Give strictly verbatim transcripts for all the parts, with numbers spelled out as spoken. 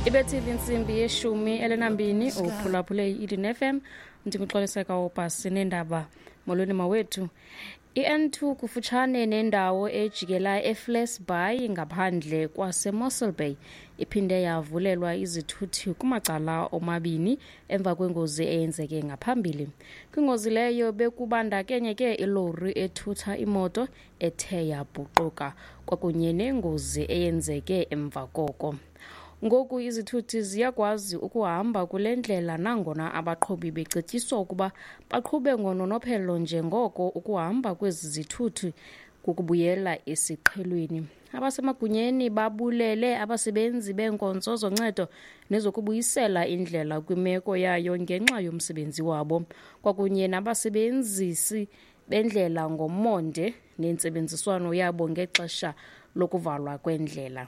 Ibethile intsimbi yeshumi elinambini, uphulaphule i-Eden F M. NdinguXoliseka Obhasi neendaba. Molweni mawethu. I-N two kufutshane nendawo ejikela eFles Bay ngaphandle kwaseMossel Bay iphinde yavulelwa izithuthi kumacala omabini emva kwengozi eyenzeke ngaphambili. Kwingozi leyo bekubandakanyeke ilori ethutha imoto ethe yabhuquka kwakunye nengozi eyenzeke emva koko. Ngoku izithuthi ziyakwazi ukuhamba kule ndlela, nangona abaqhubi becetyiswa ukuba baqhube ngononophelo njengoko ukuhamba kwezi zithuthi kukubuyela esiqhelweni. Abasemagunyeni babulele abasebenzi beenkonzo zoncedo nezokubuyisela indlela kwimeko yayo ngenxa yomsebenzi wabo, kwakunye nabasebenzisi bendlela ngomonde nentsebenziswano yabo ngexesha lokuvalwa kwendlela.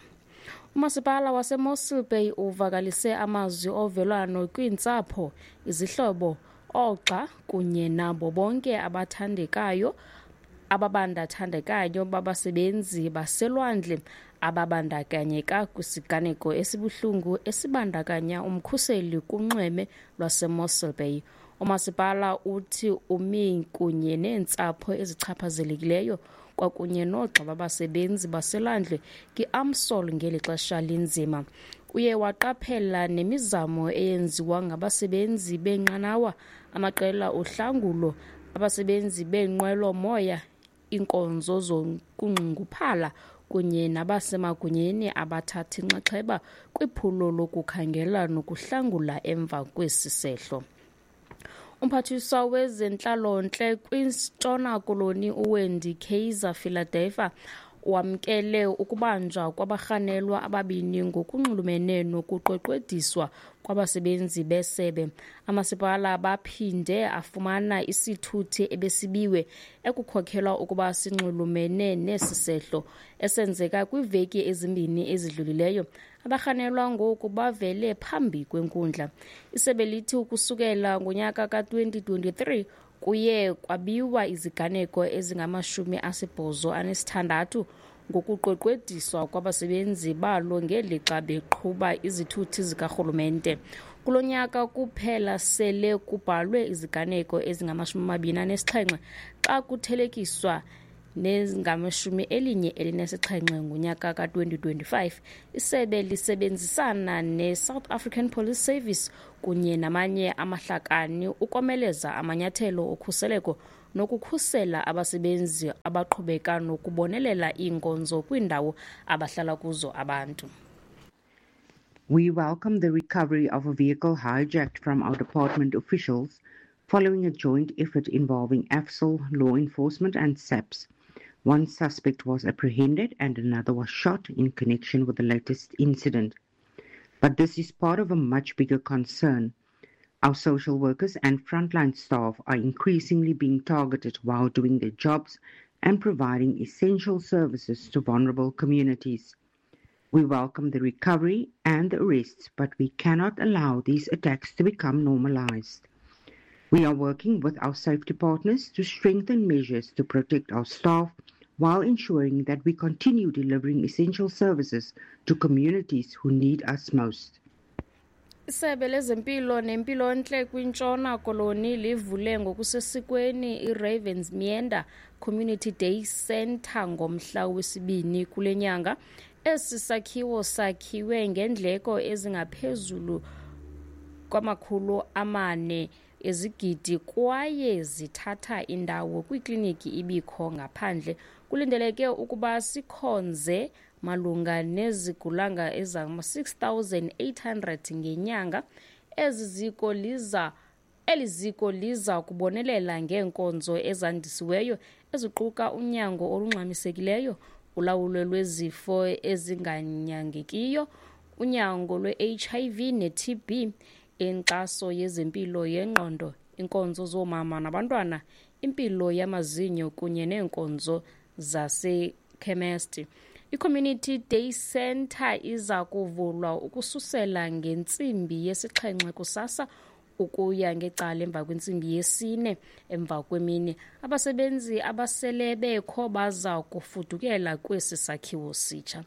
Umasipala waseMossel Bay uvakalise amazwi ovelwano kwiintsapho, izihlobo, oogxa kunye nabo bonke abathandekayo ababandathandekayo babasebenzi baselwandle ababandakanyeka kwisiganeko esibuhlungu esibandakanya umkhuseli kunxweme lwaseMossel Bay. Umasipala uthi umi kunye neentsapho ezichaphazelekileyo kwakunye noogxa babasebenzi baselwandle kwi-AMSOL ngeli xesha linzima. Uye waqaphela nemizamo eyenziwa ngabasebenzi beenqanawa, amaqela ohlangulo, abasebenzi beenqwelo-moya, iinkonzo zokunxunguphala kunye nabasemagunyeni abathatha inxaxheba kwiphulo lokukhangela nokuhlangula emva kwesi sehlo. Umphathiswa wezentlalontle kwiNtshona Koloni uWendy Kaiser Philadelphia wamkele ukubanjwa kwabarhanelwa ababini ngokunxulumene nokuqweqwediswa kwabasebenzi besebe. Amasipala baphinde afumana isithuthi ebesibiwe ekukhokelwa ukuba sinxulumene nesi sehlo esenzeka kwiiveki ezimbini ezidlulileyo. Abarhanelwa ngoku bavele phambi kwenkundla. Isebe lithi ukusukela ngonyaka ka-twenty twenty-three kuye kwabiwa iziganeko ezingamashumi asibhozo anesithandathu ngokuqweqwediswa kwabasebenzi balo ngelixa beqhuba izithuthi zikarhulumente. Kulo nyaka kuphela sele kubhalwe iziganeko ezingamashumi amabini anesixhenxe xa kuthelekiswa nezingamashumi elinye elinesixhenxe ngonyaka ka-twenty twenty-five. Isebe lisebenzisana ne-South African Police Service kunye namanye amahlakani ukomeleza amanyathelo okhuseleko nokukhusela abasebenzi abaqhubeka nokubonelela iinkonzo kwiindawo abahlala kuzo abantu. We welcome the recovery of a vehicle hijacked from our department officials following a joint effort involving AFSOL, law enforcement, and SAPS. One suspect was apprehended and another was shot in connection with the latest incident. But this is part of a much bigger concern. Our social workers and frontline staff are increasingly being targeted while doing their jobs and providing essential services to vulnerable communities. We welcome the recovery and the arrests, but we cannot allow these attacks to become normalized. We are working with our safety partners to strengthen measures to protect our staff while ensuring that we continue delivering essential services to communities who need us most. Isebe lezempilo nempilontle kwiNtshona Koloni livule ngokusesikweni iRavensmeander Community Day Centre ngomhla wesibini kule nyanga. Esi sakhiwo sakhiwe ngeendleko ezingaphezulu kwamakhulu amane ezigidi kwaye zithatha indawo kwikliniki ibikho ngaphandle. Kulindeleke ukuba sikhonze malunga nezigulanga ezingama-six thousand eight hundred ngenyanga. Ezi ziko liza eli ziko liza kubonelela ngeenkonzo ezandisiweyo eziquka unyango olungxamisekileyo, ulawulo lwezifo ezinganyangekiyo, unyango lwe-H I V ne-T B, inkxaso yezempilo yengqondo, iinkonzo zoomama nabantwana, impilo yamazinyo kunye neenkonzo zasekhemesti. I-Community Day Centre iza kuvulwa ukususela ngentsimbi yesixhenxe kusasa ukuya ngecala emva kwentsimbi yesine emva kwemini. Abasebenzi abasele bekho baza kufudukela kwesi sakhiwo sitsha.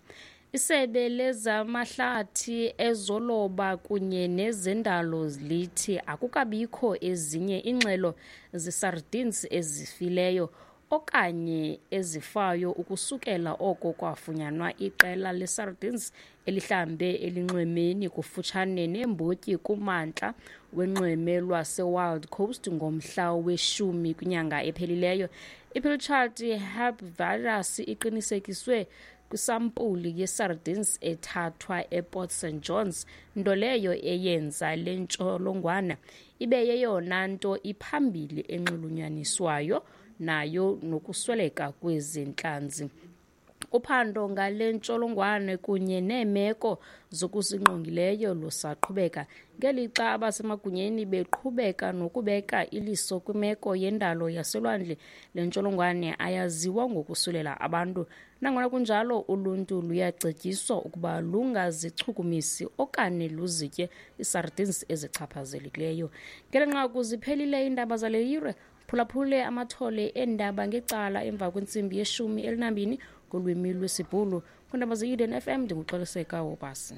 Isebe lezamahlathi, ezoloba kunye nezendalo lithi akukabikho ezinye iingxelo zesardines ezifileyo okanye ezifayo ukusukela oko kwafunyanwa iqela lesardines elihlambe elinxwemeni kufutshane neembotyi kumantla wenxweme lwaseWild Coast ngomhla weshumi kwinyanga ephelileyo. I-Pilchard herpesvirus iqinisekiswe kwisampuli yesardines ethathwa ePort Saint Johns, nto leyo eyenza le ntsholongwane ibe yeyona nto iphambili enxulunyaniswayo nayo nokusweleka kwezi ntlanzi. Uphando ngale ntsholongwane kunye neemeko zokusingqongileyo lusaqhubeka, ngelixa abasemagunyeni beqhubeka nokubeka iliso kwimeko yendalo yaselwandle. Le ntsholongwane ayaziwa ngokusulela abantu. Nangona kunjalo, uluntu luyacetyiswa ukuba lungazichukumisi okanye luzitye iisardines ezichaphazelekileyo. Ngeli nqaku ziphelile iindaba zale yure. Phulaphule amathole eendaba ngecala emva kwentsimbi yeshumi elinambini ngolwimi lwesiBhulu. Kwiindaba ze-Eden F M ndinguXoliseka Wobasi.